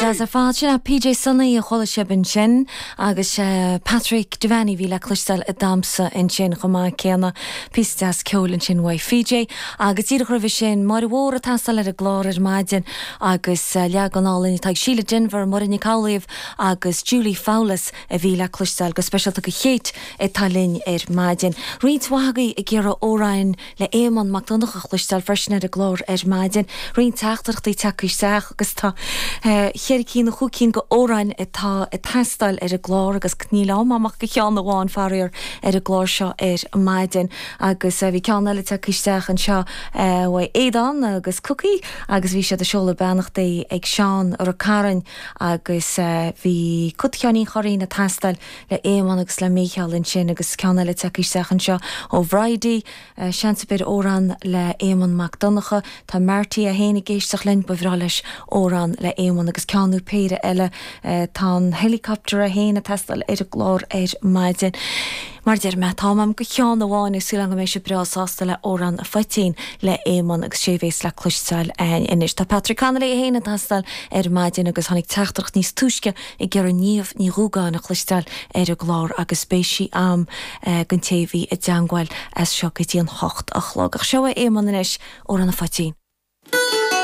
An-deas ar fad. Sin é PJ Sonaí a chuala sibh ansin agus Patrick Devaney a bhí le cloisteáil ag damhsa ansin chomh maith céanna. Píosa deas ceoil ansin uaidh PJ. Agus díreach roimhe sin, Máire Mhór ag teastáil ar an gclár ar maidin agus leagan álainn atá ag Síle Denvir, Muireann Nic Amhlaoibh agus Julie Fowlis a bhí le cloisteáil go speisialta do Kate atá linn ar maidin. Roinnt mhaith agaibh ag iarraidh amhráin le Éamonn Mac Donncha a chloisteáil freisin ar an gclár ar maidin. Roinnt teachtaireachtaí tagtha isteach agus tá cheithre cinn nó chúig cinn de amhráin atá ag teastáil ar an gclár agus níl am a'm ach do cheann amháin faraor ar an gclár seo ar maidin. Agus bhí ceann eile tagtha isteach anseo uaidh Aodán agus Cookie agus bhí siad ag seoladh beannachtaí ag Seán Rath Cairn agus bhí Cut Sheáinín Churraoin ag teastáil le Éamonn agus le Mícheál ansin agus ceann eile tagtha isteach anseo ó Bhridie, seans ar bith ar amhrán le Éamonn Mac Donncha. Tá Marty é féin ag éisteacht linn, ba bhreá leis amhrán le Éamonn agus ceann nó péire eile. Tá an helicopter é féin ag teastáil ar an gclár ar maidin. Mar a deir mé, tá am a'm do cheann amháin agus súil agam go mbeidh sibh breá sásta le Amhrán an Phoitín le Éamonn agus sé a bhéas le cloisteáil a'ainn anois. Tá Patrick Connolly é féin ag teastáil ar maidin agus tháinig teachtaireacht níos túisce ag iarraidh Niamh Ní Dhúgáin a chloisteáil ar an gclár agus beidh sí a'm don té a bhí i dteangmháil as seo go dtí an hocht a chlog. Ach seo é Éamonn anois, Amhrán an Phoitín.